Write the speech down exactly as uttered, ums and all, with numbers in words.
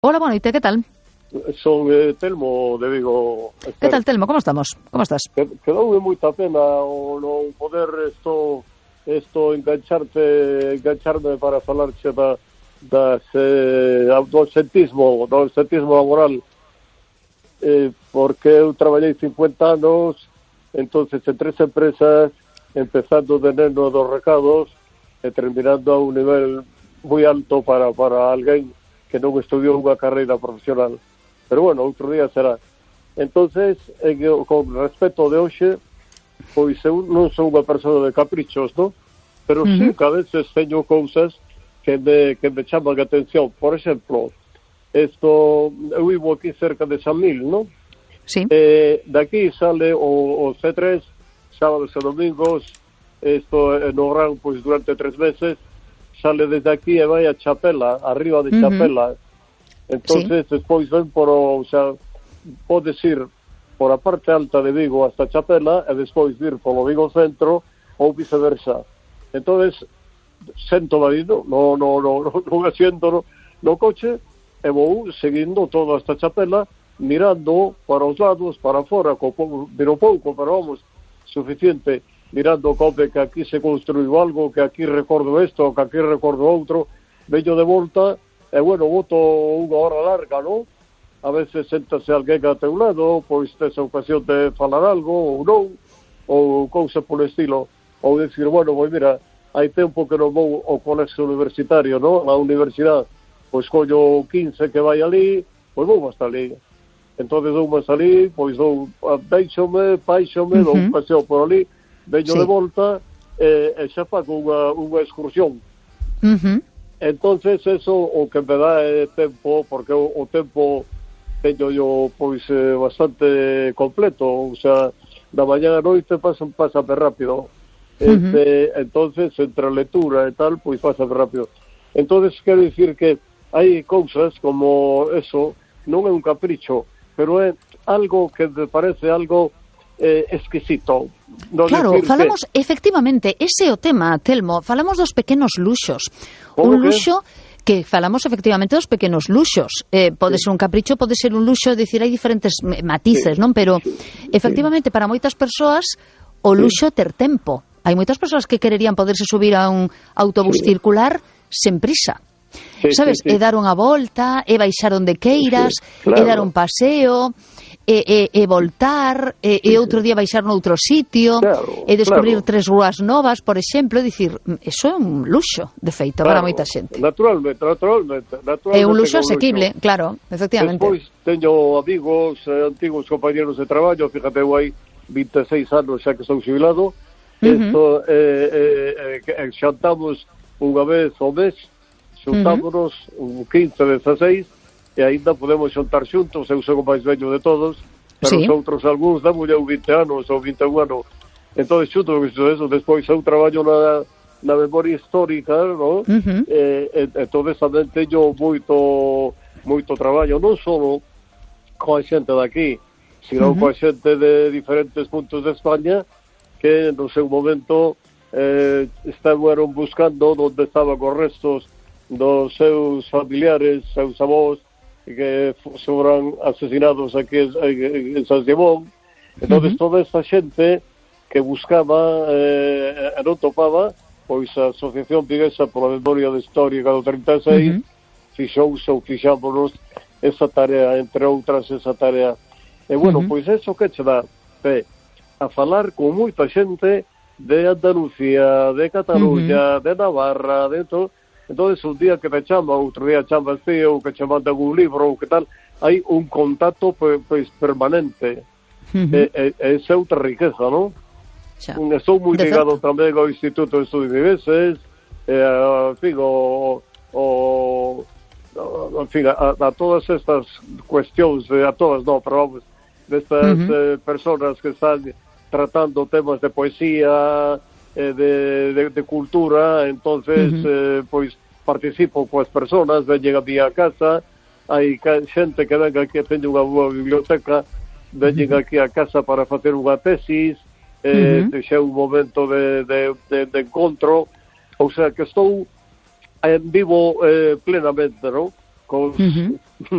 Hola, boa noite, que tal? Son eh, Telmo de Vigo. Que tal, Telmo? Como estamos? Como estás? Quedoume moita pena o non poder isto isto engancharte, engancharme para falarche da das eh, do absentismo, do absentismo laboral. Eh, porque eu traballei cincuenta anos, entonces en tres empresas, empezando de neno dos recados e terminando a un nivel moi alto para, para alguén que non estudiou unha carreira profesional. Pero bueno, outro día será. Entonces, en, con respecto de hoxe, pois eu non sou unha persona de caprichos, non? Pero uh-huh. sí que a veces teño cousas que me, que me chaman a atención. Por exemplo, esto, eu vivo aquí cerca de San Mil, non? Sí. Eh, de aquí sale o, o C tres, sábados e domingos, isto no Gran, pois durante tres meses, sale desde aquí e vai a Chapela, arriba de Chapela. Uh-huh. Entonces, sí. Despois ven por o, o sea, podes ir por a parte alta de Vigo hasta Chapela e despois vir polo Vigo Centro ou viceversa. Entonces, sento marido, no, no, no, no, no me siento no, no coche e vou seguindo todo hasta Chapela, mirando para os lados, para fora, co, miro pouco, pero vamos, suficiente, mirando como que aquí se construiu algo, que aquí recordo isto, que aquí recordo outro, veño de volta, e bueno, voto unha hora larga, non? A veces séntase alguén a teu lado, pois tes a ocasión de falar algo, ou non, ou cousa polo estilo, ou decir, bueno, pois mira, hai tempo que non vou ao colexio universitario, non? A universidade, pois collo quince que vai ali, pois vou hasta ali. Entonces dou máis ali, pois dou, deixome, paixome, uh-huh. dou un paseo por ali, veño sí. de volta, e, e xa fago unha, unha excursión. Uh-huh. Entonces eso o que me dá é tempo, porque o, o tempo teño yo pois eh, bastante completo, o sea, da mañá a noite pasa, pasa rápido. Este, uh-huh. Entonces, entre a lectura e tal, pois pasa rápido. Entonces, quero dicir que hai cousas como eso, non é un capricho, pero é algo que me parece algo eh, exquisito. No claro, falamos, que... efectivamente, ese é o tema, Telmo, falamos dos pequenos luxos. Un luxo que falamos efectivamente dos pequenos luxos. Eh, pode sí. ser un capricho, pode ser un luxo, dicir, hai diferentes matices, sí. non? Pero, efectivamente, sí. para moitas persoas, o luxo sí. ter tempo. Hai moitas persoas que quererían poderse subir a un autobús sí. circular sen prisa. Sí, sabes, sí, sí. é dar unha volta, é baixar onde queiras, sí, claro. é dar un paseo, é, é, é voltar, é, é outro día baixar noutro sitio, claro, é descubrir claro. tres rúas novas, por exemplo, dicir, eso é un luxo, de feito, claro, para moita xente. Naturalmente, naturalmente, naturalmente. É un luxo asequible, luxo. Claro, efectivamente. Despois teño amigos, eh, antigos compañeros de traballo, fíjate, eu hai vinte e seis anos xa que estou xubilado, uh-huh. esto, eh, eh, eh, xantamos unha vez ao mes, xuntámonos uh-huh. un quince, dezasseis e aínda podemos xuntar xuntos, eu sou o máis vello de todos, pero sí. os outros algúns da muller vinte anos ou vinte e un anos, entón xunto eso, despois eu traballo na, na memoria histórica, no? uh-huh. e, e, entón tamén teño moito moito traballo, non só coa xente daqui, sino uh-huh. coa xente de diferentes puntos de España que no seu momento eh, estaban buscando onde estaban os restos dos seus familiares, seus avós, que foran asesinados aquí en, en San Simón. Entón, uh-huh. toda esta xente que buscaba eh, e non topaba, pois a Asociación Viguesa pola Memoria Histórica do trinta e seis uh-huh. fixouse ou fixámonos esa tarea, entre outras esa tarea. E bueno, uh-huh. pois eso que che dá eh, a falar con moita xente de Andalucía, de Cataluña, uh-huh. de Navarra, de todo. Entonces, un día que me chama, outro día chamas ti, ou que che mandan un libro, ou que tal, hai un contacto pois, pois permanente. Uh-huh. E, e, e esa é outra riqueza, non? Estou moi ligado tamén ao Instituto de Estudios Vigueses, e, en fin, o, o, en fin, a, a todas estas cuestións, a todas, non, pero vamos, destas uh-huh. eh, personas que están tratando temas de poesía, De, de, de cultura, entonces uh-huh. eh, pois participo coas persoas, veñen a mi a casa, hai xente que venga aquí, teño unha boa biblioteca, veñen uh-huh. aquí a casa para facer unha tesis, eh, uh-huh. xa un momento de, de, de, de encontro, ou sea que estou en vivo eh, plenamente, non? Con, uh-huh.